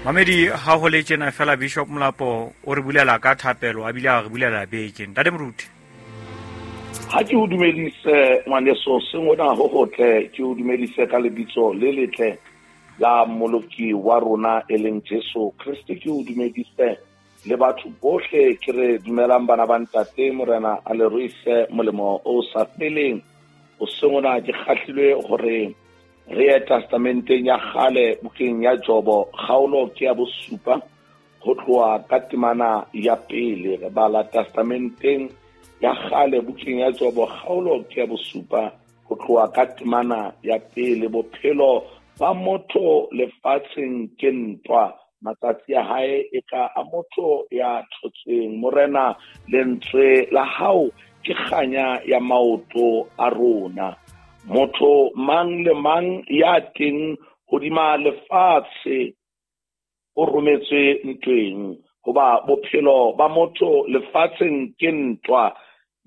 Mamedi, ha ho le tjena fela Bishop Molapo o re bulela ka thapelo, a bile a re bulela beke. Ntate Moruti. Ha ke o dumedise ngwaneso, seng ona ho hotle, ke o dumedise ka lebitso le letle la Mmoloki wa rona e leng Jesu Kriste. Ke o dumedise le batho bohle, ke re dumelang bana ba ntate, Morena a le ruise molemo o sa feleng. O seng ona ke kgahlilwe hore re ye testamenteng ya kgale, bukeng ya Jobo, kgaolo ke ya bosupa, ho tloha ka temana ya pele. Re bala testamenteng ya kgale, bukeng ya Jobo, kgaolo ke ya bosupa, ho tloha ka temana ya pele. Bophelo ba motho lefatsheng ke ntwa, matsatsi a hae e ka a motho ya thotseng. Morena, lentswe la hao ke kganya ya maoto a rona. Motho mang le mang ya teng hodima lefatshe o rometswe ntweng, hoba bophelo ba motho lefatsheng ke ntwa.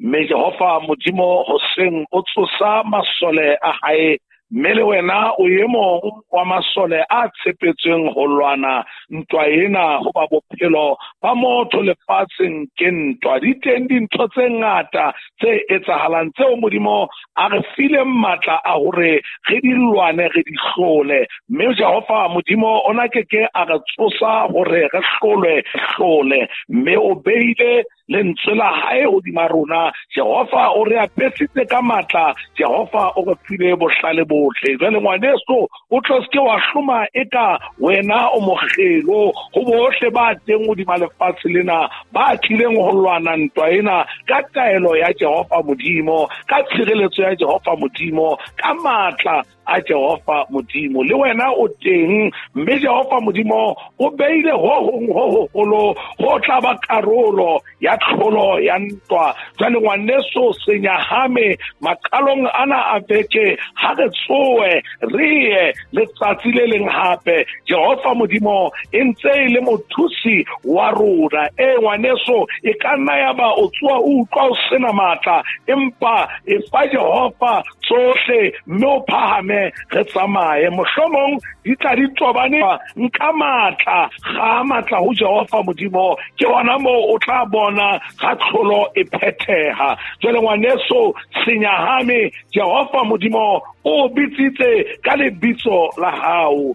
Mme Jehova Modimo hoseng o tsosa masole a hae, mme le wena o e mong wa masole a tshepetsweng ho lwana ntwa ena, hoba bophelo ba motho lefatsheng ke ntwa. Di teng dintho tse ngata tse etsahalang tseo Modimo a re fileng matla a hore re di lwane, re di hlole. Mme Jehova Modimo o na ke ke a re tsosa hore re hlolwe, hlole. Mme o beile lentswe la hae hodima rona. Jehova o re apesitse ka matla, Jehova o re file bohlale bohle. Jwale ngwaneso, o tlo seke wa hloma eka wena o mokgelo ho bohle ba teng hodima lefatshe lena, ba tlileng ho lwana ntwa ena ka taelo ya Jehova Modimo, ka tshireletso ya Jehova Modimo, ka matla a Jehova Modimo. Le wena o teng, mme Jehova Modimo o beile ho hong ho hoholo ho tla ba karolo ya tlholo ya ntwa. Jwale ngwaneso, senyahame maqalong ana a beke, ha re tsoe re ye letsatsi le leng hape. Jehova Modimo e ntse e le mothusi wa rona. E ngwaneso, e ka nna ya ba o tsoa o utlwa o sena matla, empa e fa Jehova tsohle mme o phahame, re tsamaye. Mohlomong di tla di tobane, nka matla, ga matla ho Jehova Modimo, ke hona moo o tla bona ga tlholo e phetheha. Jwale ngwaneso, senyahame, Jehova Modimo o bitsitse ka lebitso la hao.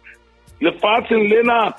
Lefatsheng lena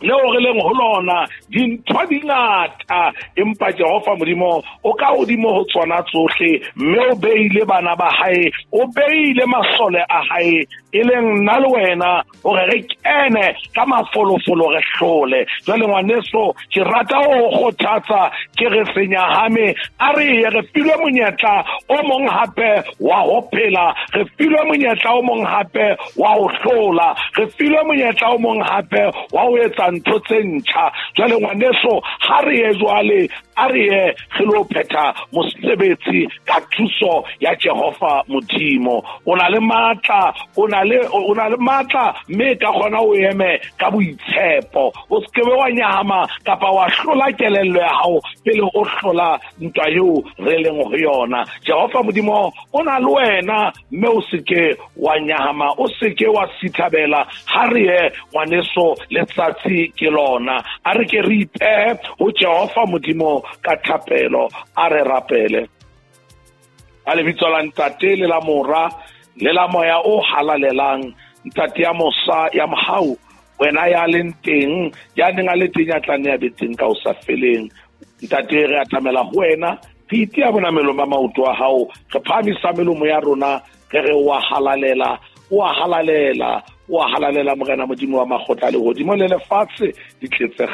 leo re leng ho lona dintho di ngata, empa Jehova Modimo o ka hodimo ho tsona tsohle, mme o beile bana ba hae, o beile masole a hae, e leng nna le wena, hore re kene ka mafolofolo re hlole. Jwale ngwaneso, ke rata ho kgothatsa, ke re senyahame, a re ye, re filwe monyetla o mong hape wa ho phela, re filwe monyetla o mong hape wa ho hlola, re filwe monyetla o mong hape wa ho etsa ntho tse ntjha. Jwale ngwaneso, ha re ye jwale, a re ye re lo phetha mosebetsi ka thuso ya Jehova Modimo. O na le matla, o na le matla, mme ka kgona o eme ka boitshepo. O se ke wa nyahama kapa wa hlola kelello ya hao pele o hlola ntwa eo re leng ho yona. Jehova Modimo o na le wena, mme o se ke wa nyahama, o se ke wa sithabela. Ha re ye ngwaneso, letsatsi ke lona. A re ke re ipehe ho Jehova Modimo ka thapelo. A re rapele. A lebitso la Ntate le la Mora le la Moya o halalelang, Ntate ya mosa ya mohau, wena ya leng teng, ya neng a le teng, ya tla nne a be teng ka ho sa feleng. Ntate, re atamela ho wena, re itea bonamelong ba maoto a hao, re phahamisa melomo ya rona, re re wa halalela, wa halalela, wa halalela Morena Modimo wa makgotla a lehodimo le lefatshe di tletse.